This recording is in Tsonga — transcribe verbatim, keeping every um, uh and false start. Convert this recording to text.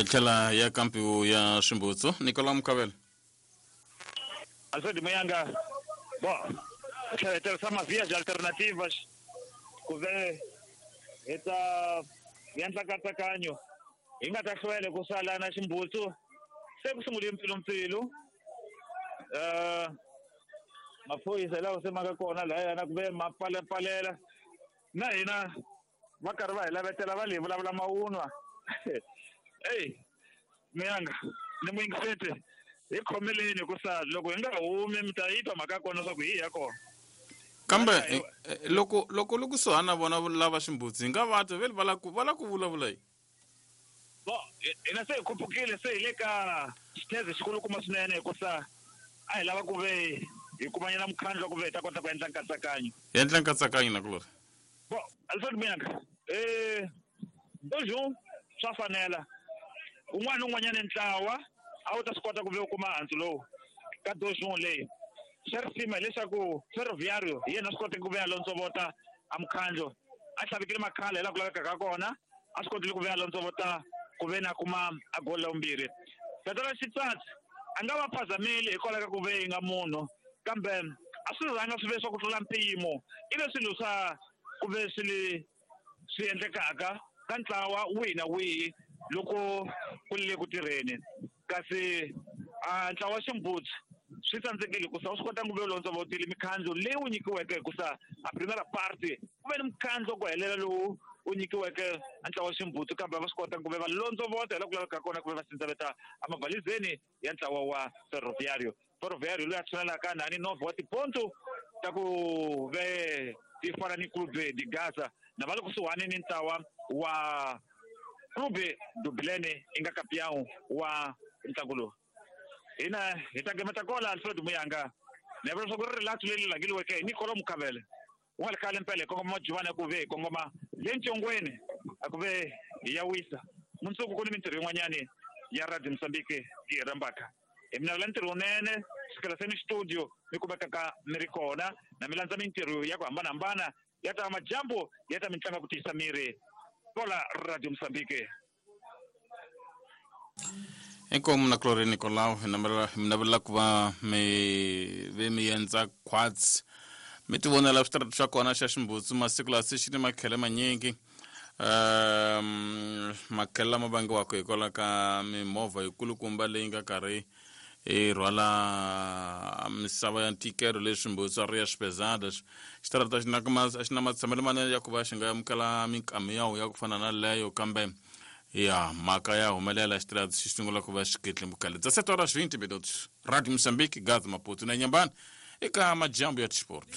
Hi tlhela ya kampiwu ya Swimbutsu Nicolau Mukavela. Alfred Muyanga, bon, hi tlhela hi tirhisa mavias alternativas ku ve hi ta endla nkatsakanyo hi nga ta hlwela ku sala na Ximbutsu se ku sungule mpfilumpfilu um maphorisa hi lawa se ma nga kona lahayana ku ve ma pfalepfalela na hina va karhi va hi lavetela va le hi vulavula mavunwa. Eyi Muyanga ni muyingiseti hi khomeleni hikusa loko hi nga humi mi ta yi twa mhaka ya kona leswaku hi ya kona. Kambe loko loko li kusuhani na vona lava Ximbutsu hi nga va twa vele va la ku va la ku vulavula yi. Bo hina se hi khupukile se hi le ka xitheze xikulukumba swinene hikusa a hi lava ku ve hi kumanyana mukhandlu wa ku ve hi ta kota ku endla nkatsakanyo. Hi endla nkatsakanyo nakulorhi. Bo Alfred Muyanga eh bonjour swa fanela un'wana na un'wanyana ntlawa a wu ta swi kota ku ve u kuma handzu lowu ka dozhun leyi. Xa risima hileswaku Ferroviário hi yena a swi koteke ku ve a londzovota a mukhandlu a tlhavikile makhala hi laha ku lavekaka kona a swi kotile ku ve a londzovota ku ve na kuma a goli la vumbirhi. Tatana Xitsatsi a nga va phazameli hikwalaho ka ku ve yi nga munhu kambe a swi rhanga swi ve swa ku tlula mpimo i ve swilo swa ku ve swi le swi endlekaka ka ntlawa wihi na wihi loko ku le ku tirheni kasi a ntlawa wa Ximbutsu swi tsandzekile hikusa u swi kota ku ve londzovotile mikhandlu leyi wu nyikiweke hikusa a primera parte ku ve ni mukhandlu wa ku helela lowu wu nyikiweke a ntlawa wa Ximbutsu kambe va swi kota ku ve va londzovota hi laha ku lavekaka kona ku ve va sindzaveta emabalizeni ya ntlawa wa Ferroviário. Ferroviário loyi a tshunelaka nani nove wa tiponto ta ku ve ti fana ni Clube de Gaza na va le kusuhani ni ntlawa wa Clube do Bilene i nga campeão wa ntlangu lowu. Hina hi ta gemeta kola Alfred Muyanga ni vula leswaku ri rilato leri langiliweke hi Nicolau Mukavele u nga ri khale mpela hi kongoma Majuvani a ku ve hi kongoma le Ncongweni a ku ve hi ya wisa mundzuku ku ni mintirho yin'wanyani ya Radio Mozambique yi hi rhambaka hi mi navela ntirho wunene sukela se ni studio mi kumekaka mi ri kona na mi landza mintirho ya ku hambanahambana ya ta majambu ya ta mitlangu ya ku tiyisa miri kola Radio Mozambique. Inkomu na Clori Nicolau hi navela hi mi navela ku va mi ve mi endza quads mi ti vonela switarata swa kona xa Ximbutsu masiku lawa se xi ni makhele manyingi um makhele lama vangiwaka hikwalaho ka mimovha yikulukumba leyi nga karhi yi rhwala misava ya ntikelo leswi Ximbutsu a ri ya Pesadas xitarata xi na a xi na matshamelo manene ya ku va xi nga amukela minkamiyawu ya ku fana na leyo kambe ya mhaka ya humelela xitarata xi sungula ku va xiketlimbukale dezessete horas vinte minutos. Radio Moçambique, Gaza, Maputo na Inhambane eka majambu ya tisport.